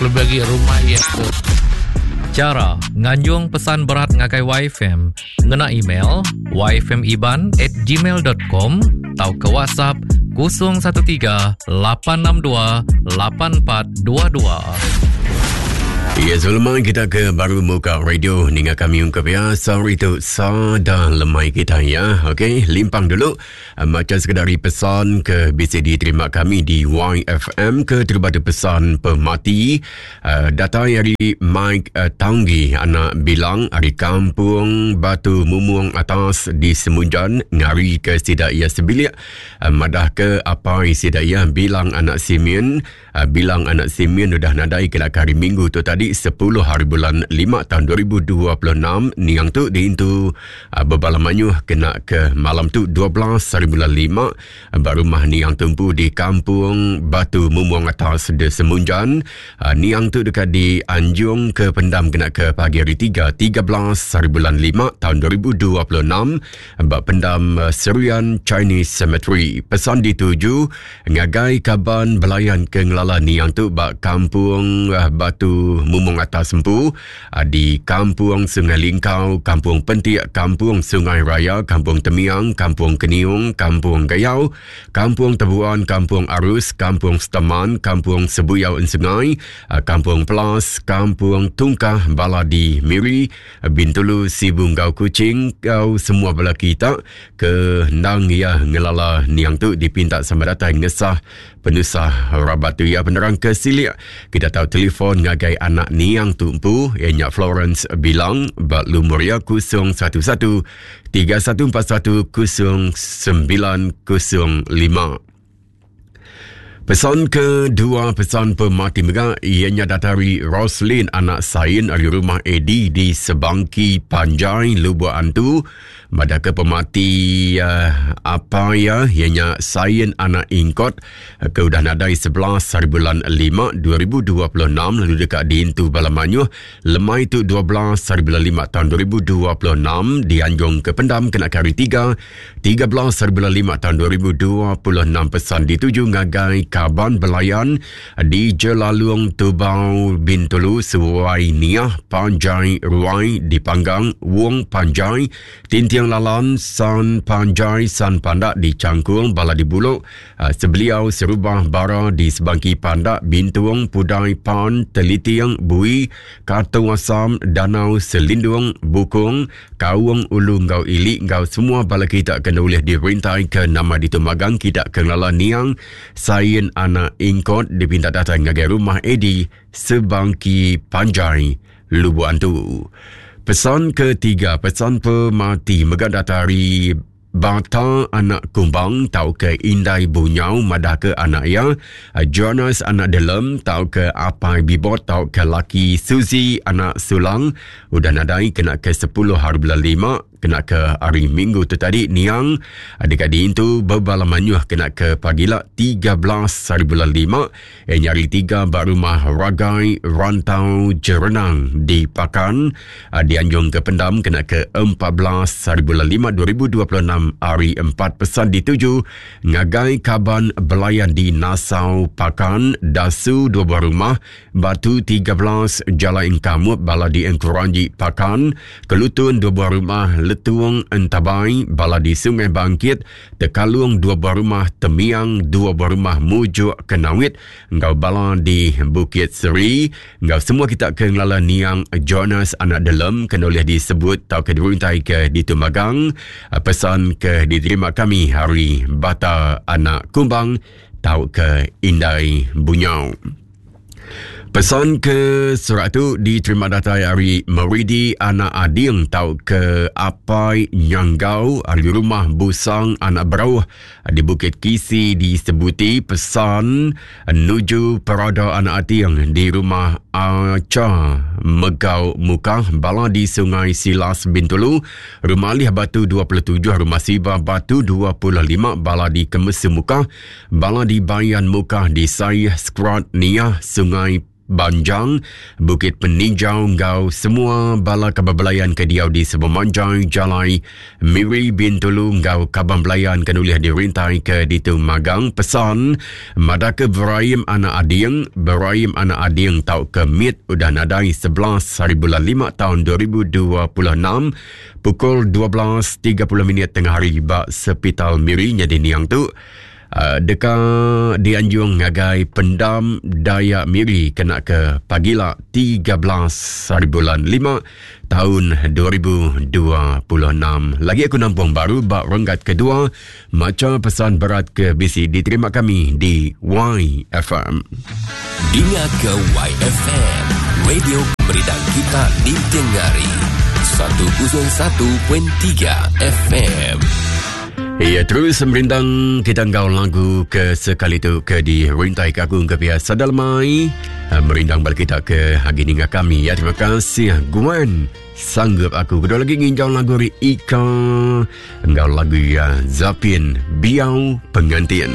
Kelebih agi rumah iya tu. Chara nganjung pesan berat ngagai YFM ngena email yfmiban at gmail.com tauka WhatsApp 013 862 8422. Ya, sebelum kita ke baru muka radio ninga kami ungkap ya. Sorry tu sada lemai kita ya. Okey, limpang dulu. Eh, macam sekedar pesan ke bisi diterima kami di YFM ke terubah tu pesan pemati uh, datang dari Mike uh, Tanggi anak bilang dari kampung Batu Mumung atas di Semunjan ngari ke sida ia sebilik uh, madah ke apa sida ia bilang anak Simeon Ah, bilang anak Simeon udah nadai kena ke hari Minggu tu tadi 10 hari bulan 5 tahun 2026 niang tu diintu ah, bebala mayuh kena ke malam tu 12 hari bulan 5 ah, ba rumah niang tumpu di Kampung Batu Mumung Atas de Semunjan. Niang tu deka dianjung ke pendam kena ke pagi hari 3 13 hari bulan 5 tahun 2026 ba pendam Serian Chinese Cemetery. Pesan dituju Ngagai kaban belayan ke ngelala niang tu ba Kampung eh, Batu Mumung Atas empu eh, di Kampung Sungai Lingkau, Kampung Pentik, Kampung Sungai Raya, Kampung Temiang, Kampung Keniung, Kampung Gayau, Kampung Tebuan, Kampung Arus, Kampung Seteman, Kampung Sebuyau Ensengai, eh, Kampung Pelas, Kampung Tungkah, Bala di Miri, Bintulu, Sibu enggau Kuching, enggau semua bala kita ke endang iya ngelala niang tu dipinta sama datai ngesah penusah rabat tu. Iya penerang ke silik kita tau telefon ngagai anak niang tu empu iya nya Florence Bilang ba lumur iya 011 3141 0905. Pesan kedua pesan pemati mega iya nya datai ari Roslin anak Sain ari rumah Eddie di Sebangki Panjai Lubok Antu madah ke pemati uh, apa iya iya nya Sain anak Ingkot ke udah nadai 11 hari bulan 5 2026 lalu deka diintu bala mayuh lemai tu 12 hari bulan 5 tahun 2026 dianjung ke pendam kena ke hari 3 13 hari bulan 5 tahun 2026 pesan dituju ngagai kaban belayan di Jelalung Tubau Bintulu Suai Niah Panjai Ruai di Panggang Wong Panjai Tinting Lalan San Panjai San Pandak di Cangkung Bala di Bulok eh, Sebeliau Serubah Bara di Sebangki Pandak Bintung Pudai Pan Teliting Bui Kartung Asam Danau Selindung Bukung Kaung ulu enggau ili enggau semua bala kita ke enda ulih dirintai ke nama ditu magang kita ke ngelala niang Sain anak Ingkot dipinta datai ngagai rumah Eddie Sebangki Panjai Lubok Antu. Pesan ketiga, pesan pemati mega datai ari Bata anak Kumbang tauka Indai Bunyau madahka anak iya Jonas anak Delem tauka Apai Bibot tauka laki Suzy anak Sulang udah nadai kena ke sepuluh hari bulan lima kena ke hari Minggu tu tadi niang deka diintu bebala mayuh kena ke pagila 13 hari bulan lima iya nya hari tiga ba rumah Ragai Rantau Jerenang di Pakan dianjung ke pendam kena ke 14 hari bulan lima 2026 hari empat pesan dituju ngagai kaban belayan di Nasau Pakan Dasu dua buah rumah Batu 13 Jalai Engkamut bala di Engkuranji Pakan Kelutun dua buah rumah Letung Entabai bala di Sungai Bangkit Tekalung dua buah rumah Temiang dua buah rumah Mujuk Kenawit enggau bala di Bukit Seri enggau semua kita ke ngelala niang Jonas anak Delem ke ulih disebut tauka diruntai ke ditu magang pesan ke diterima kami hari Bata anak Kumbang tauka Indai Bunyau. Pesan ke surat tu diterima datai ari Meridi anak Ading tauka Apai Nyanggau ari rumah Busang anak Berauh di Bukit Kisi di Sebuti. Pesan nuju Perada anak Ating di rumah Acha Megau Mukah bala di Sungai Silas Bintulu, Rumah Alih Batu 27, Rumah Siba Batu 25 bala di Kemesu Mukah, Bala di Bayan Mukah di Saih Skrat Niah Sungai Banjang, Bukit Peninjau enggau semua bala kaban belayan ke diau di sememanjai jalai Miri Bintulu enggau kaban belayan ke nulih dirintai ke ditu magang pesan madahka Beraim anak Ading, Beraim anak Ading tauka Mit udah nadai 11 hari bulan 5 taun 2026 pukul 12.30 minit tengah hari ba Sepital Miri nyadi niang tu Uh, deka dianjung ngagai Pendam Dayak Miri kena ke pagila 13 hari bulan 5 tahun 2026. Lagi aku nampung baru ba renggat kedua macha pesan berat ke bisi diterima kami di YFM. Dinga ke YFM, radio pemerindang kita ninting hari. 101.3 FM. Ya, terus merindang kita enggau lagu ke sekali tu ke di rintai ke aku ke biasa dalamai. Eh, merindang bala kita ke hari ninga kami ya. Terima kasih Gwen sanggup aku. Kedua lagi nginjau lagu ri Ika enggau lagu ya Zapin Biau Pengantin.